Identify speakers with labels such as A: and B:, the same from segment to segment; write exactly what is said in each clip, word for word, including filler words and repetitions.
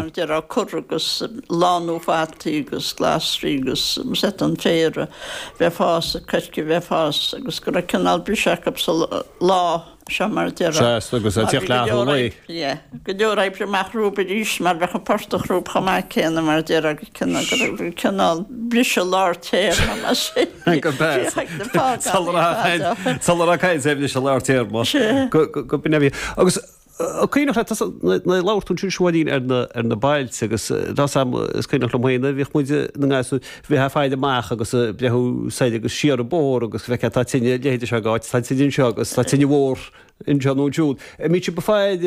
A: Mar a déarfá cur agus lánú fataí agus glasraí agus set an féar a bheith ag fás, an coirce a bheith ag fás agus go raibh cineál briseadh acu sa lá seo mar a déarfá.
B: Sea, agus a teacht leath an lae.
A: Yeah, go leor oibre amach rompu arís mar bheadh an portach rompu chomh maith céanna mar a déarfá go cineál go raibh cineál briseadh lár téarma mar sin.
B: Go bea. Sula raibh caint ar bhriseadh lár téarma. Go go b'in a bhí. Agus an cuimhneach leat, nuair a labhair tú ansin Siobháinín ar na ar na bailte agus tá 's a'm is cuimhneach liom féin nuair a bhíodh muid ina ngasúir bheith ag faire amach agus ag breathnú soir agus siar an bóthar agus bheith tá tine leithéide seo ag áit, tá tine anseo agus tá tine mhór anseo nó ansiúd. An mbíodh sibh ag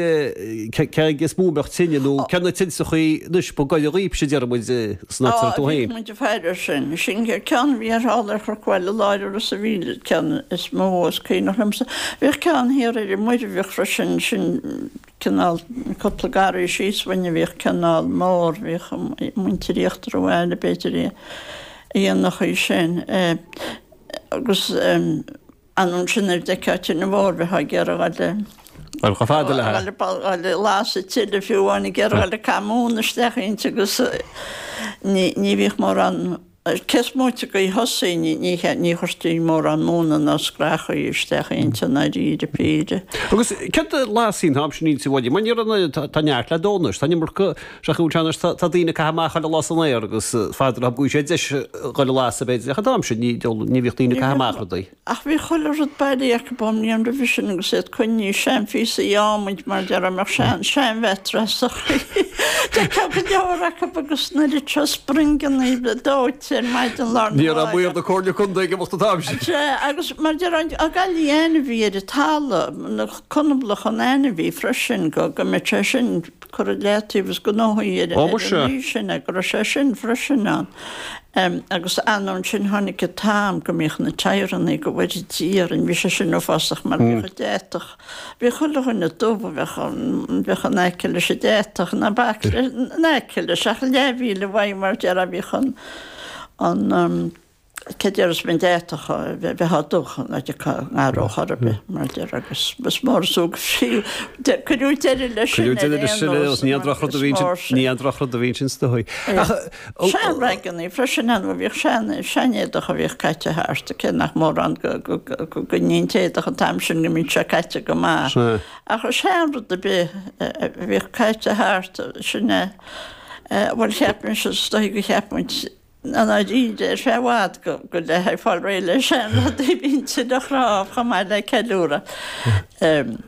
B: faire cé aige is mó a mbeadh tine nó cé na tintreachaí anois ba gaire dhaoibhse a deir muid san áit a raibh tú
A: Á,
B: féin?
A: bhíodh muid ag faire air sin. Sin ceann a bhí ar thall ar Chnoc Bhaile Láir Ros a' Mhíl, ceann is mó is cuimhneach liomsa. Bhíodh ceann thiar ar an Muirbheach freisin, sin cineál cúpla garraí síos uainn a bhíodh cineál mór, bhíodh muintir Íochtar an Bhaile b'fhéidir a dhéanadh í sin. Agus ansin nuair a d'fheicfeá tine mhór bheifeá ag iarraidh dhul
B: Bhuel, chomh fada le.
A: dhul ag lasadh tuilleadh fiú amháin ag iarraidh dhul ag caitheamh móna isteach inti agus ní ní bhíodh mórán Cé is móite de thosaigh, ní chuirtí mórán móna ná scrachaí isteach inti i ndáiríre píre.
B: Agus céard a lastaí an t-am sin inti bhuel, mar ní raibh, tá neart le dó anois, tá an iomarca, seachas anois, tá daoine ag caitheamh amach chuile lá san aer agus fada go bhfuil sé deis dhul a lasadh b'fhéidir, ach an t-am sin ní bhíodh daoine ag caitheamh amach rudaí.
A: Ach bhí chuile rud bailithe acu ón mbliain roimhe sin agus iad coinnithe, seanphíosaí adhmaid mar déarfá, mbeadh sean, seanmheaitreasachaí. D'fheicfeá go leor acu agus na litreacha springeanna dóite ar maidin lá arna
B: Ní raibh
A: mháireach.
B: maor na Comhairle Contae ag imeacht an t-am sin.
A: Sea, agus mar déarfá, an gailí ainmhí ar an talamh, na conablach an ainmhí freisin, go, go mbeadh sé sin curtha i leataobh is gnóthaí ar
B: Ó,
A: an
B: muise.
A: ní sin, go raibh sé sin freisin ann. Agus anonn sin tháinig an t-am go mbíodh na tyreannaí go bhfóire Dia orainn, bhí sé sin uafásach mar bhíodh an deatach, bhíodh chuile dhuine dubh a bheadh an, bheadh in aice leis an deatach, ná bac in aice leis ach leathmhíle uaidh mar déarfá bhíodh an, an, Cé déarfas mé an deatach a bheith á dubh ná ngaró chor ar bith mar déarfá agus is mór is fiú cuireadh deireadh leis sin
B: Cuireadh deireadh leis sin ar aon nós, ní aon drochrud a bhí ansin, ní aon drochrud a bhí ansin is dóigh. Ach
A: Sean-raigeannaí freisin ann, bhíodh sean, sean-éadach a bhíodh caite thart, cé nach mórán go, go, go, go ní an t-éadach an t-am sin go mbíodh sé caite go maith. Ach sean-rud ar bith a bhíodh caite thart, sin é, bhuel cheap mise, is dóigh go cheap muid, I ndáiríre, ar feadh i bhfad go go le haghaidh fáil réidh le seanrudaí bhí an tine chnámh chomh maith le ceiliúradh.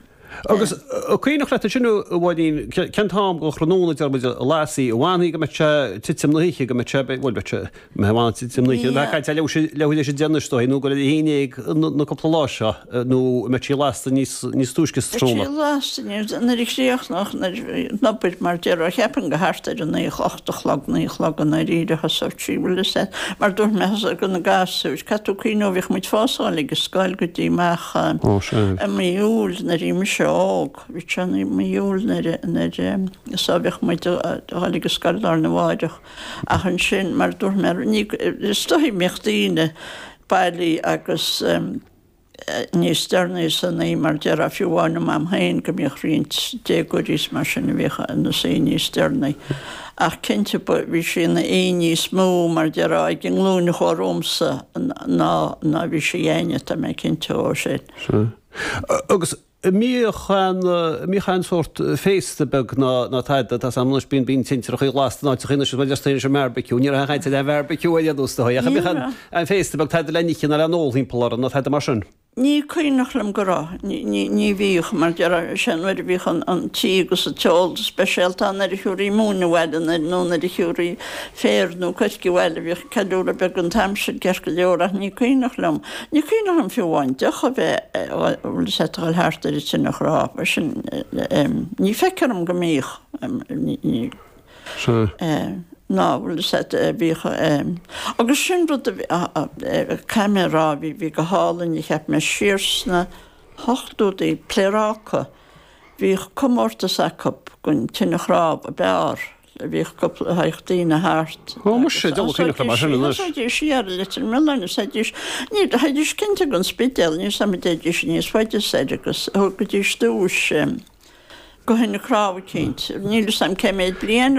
B: Agus an cuimhneach leat ansin, a Mháirín, cén t-am den thráthnóna, deir muid, a lastaí an bhfanfaí go mbeadh sé titim na hoíche, go mbeadh sé, bhuel, bheadh sé, mbeadh an titim na hoíche, bheadh caint ar leathuair théis a deich anois, is dóigh, nó go leath i ndiaidh a haon na cúpla lá seo, nó an mbeadh sí lasta níos níos túisce sa
A: Bheadh sí
B: tráthnóna?
A: lasta níos, nuair a chríochnódh, nuair a bhí an obair mar déarfá, cheapfainn go thart ar a naoi, a hocht a chlog, naoi a chlog i ndáiríre thosódh sí, bhfuil fhios a'd, mar dúirt mé thosódh go na gasúir, caithfidh tú cuimhneamh bhíodh muid fós ag dul ag an scoil go dtí amach
B: Ó, sea.
A: i mí Iúil nuair a bhí mise óg, bhí sé i mí Iúil nuair a, nuair a, so bhíodh muid ag dul ag an scoil lá arna mháireach ach ansin mar dúirt mé, ní, is dóigh mbíodh daoine bailí agus. níos deireanaí san oíche, mar déarfá, fiú amháin i m'am féin, go mbíodh roinnt déagóirí is mar sin a bhíodh ina suí níos deireanaí. Ach cinnte, ba, bhí sí ina oíche níos mó, mar déarfá, ag an nglúin a chuaigh romhamsa ná, ná bhí sí againne, tá mé cinnte dhó sin.
B: Sea. Agus an mbíodh aon, an mbíodh aon sórt féasta beag ná, ná tada, tá 's a'm anois, bíonn, bíonn tintreachaí lasta in áiteachaí anois, is mar deir anois an mbearbaiciú, ní raibh aon chaint ar aon bhearbaiciú ar aon nós, is dóigh, ach an mbíodh aon, aon féasta beag tada le n-ithe ná le n-ól thimpeall orthu nó tada mar sin?
A: Ní cuimhneach liom go raibh. Ní, ní bhíodh, mar déarfá, sé nuair a bhíodh an, an tí agus an t-ól speisialta ann nuair a thiúrfaí móin abhaile nuair, nó nuair a thiúrfaí féar nó coirce abhaile, bhíodh ceiliúradh beag an t-am sin ceart go leor ach ní cuimhneach liom, ní cuimhneach liom fiú amháin deoch a bheith, bhfuil fhios a'd, a dhul thart ar an tine chnámh, mar sin, ní feictear dom go mbíodh, ní, ní.
B: Sea.
A: Ná, bhfuil fhios a'd, bhíodh, agus sin rud a bhí, caithfidh mé a rá, bhí, bhí go hálainn, a cheap mé, siar sna hochtóidí, Pléaráca, bhíodh comórtas acu don tine chnámh ab fhearr, bhíodh cúpla, thagadh daoine thart
B: Ó, muise, diabhal cuimhneach liom é sin anois.
A: Thosaídís siar i Leitir Mealláin, thosaídís, ní, théidís cinnte go an Spidéal, níl 's a'm an dtéidís níos faide soir agus thugaidís duais, go thine chnámh eicínt. Níl 'fhios a'm cé méid bliain